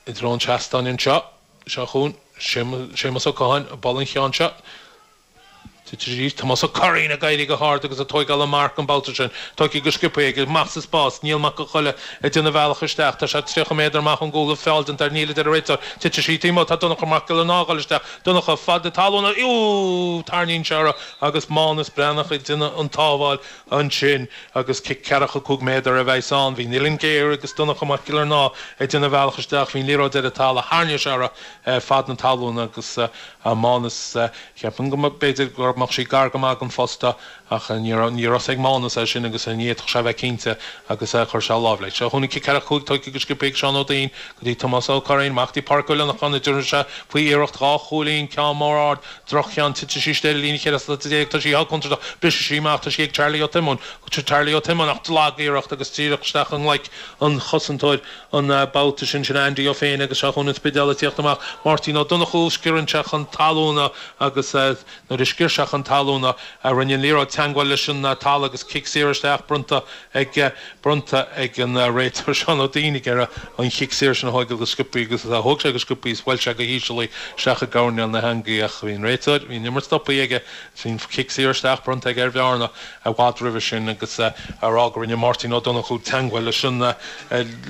I dtreo an tseastáin anseo. Seo chugainn Séamus Ó Catháin ag bualadh an cheann seo. Titfidh arís. Tomás Ó Curraoin ag éirí go hard agus ag tóigeáil an marc an babhta sin. Tógtha go sciobtha aige. Amach sa spás. Niall Mac Con Choille ag déanamh a bhealach isteach. Tá sé 30 méadar amach ón gcúl. Feall déanta air. Níl, a deir an réiteoir. Titfidh sí taobh amuigh. Tá Donncha Mac Giollarnáth ag dul isteach. Donncha, fad na talún. Iú! Tarraingíonn sé orthu agus Mánus Breathnach ag déanamh an tsábháil ansin agus cic ceathracha cúig méadar a bheas ann. Bhí an uillinn géar agus Donncha Mac Giollarnáth ag déanamh a bhealach isteach. Bhí an liathróid ar an talamh. Tharraing sé uirthi fad na talún agus Mánas, cheapfainn go mb'fhéidir go mbeadh sí gar go maith don phosta ach ní raibh a fhios ag Mánas é sin agus ní fhéadfadh sé a bheith cinnte agus chuir sé a lámh leis. Seo chugainn an cic ceathracha cúig tógtha go sciobtha ag Seán Ó Duinn go dtí Tomás Ó Curraoin amach go dtí Pádraic Ó Lionnacháin a dtabharfaidh sé faoi iarracht dhá chúilín, ceann mór ard, Droch-cheann, titfidh sí istigh ar an líne 14 slat, tá sí sách contúirteach, brisfidh sí amach, tá sí ag Charlie Ó Tiomáin, Charlie Ó Tiomáin ach lag-iarracht agus díreach isteach i nglaic an chosantóir an babhta sin, sin Andy Ó Féinne agus seo chugainn an Spidéal ag tíocht amach, Máirtín Ó Donnchú, sciorrann sé chun talún agus nuair a sciorr sé chun talún rinne an liathróid teangmháil leis an talamh agus cic saor isteach bronnta ag bronnta ag an réiteoir Seán Ó Duinn ag iarraidh an chic saor sin a thóigeáil go sciobtha agus thóg sé go sciobtha is bhuail sé go híseal í isteach i gcoirnéal na heangaí ach bhí an réiteoir, bhí an imirt stoptha aige, bhí an cic saor isteach bronnta aige ar Bhearna i bhfad roimhe sin agus á rá go rinne Máirtín Ó Donnchú teangmháil leis an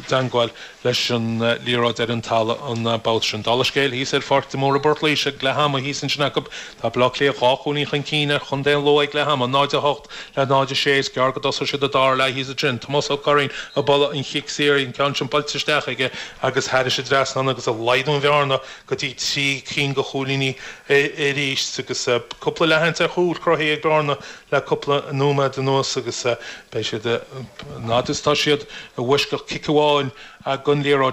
dteangmháil leis an liathróid ar an talamh an babhta sin. Dála scéil, thíos ar Pháirc de Mór i bPort Laoise ag leath ama thíos ansin acu, tá Baile Átha Cliath dhá chúilín chun cinn ar chontae an Lú ag leath ama, 0-8 le 0-6. Is gearr go dtosóidh siad an dara leath thíos ansin. Tomás Ó Curraoin ag bualadh an chic saor, an ceann sin buailte isteach aige agus thairis an dtrasnán agus ag laghdú an bhearna go dtí trí cinn de chúilíní arís agus cúpla leathsheans ar chúl cruthaithe ag Bearna le cúpla nóiméad anuas agus beidh siad, an fhad is atá siad i bhfoisceacht cic amháin den liathróid.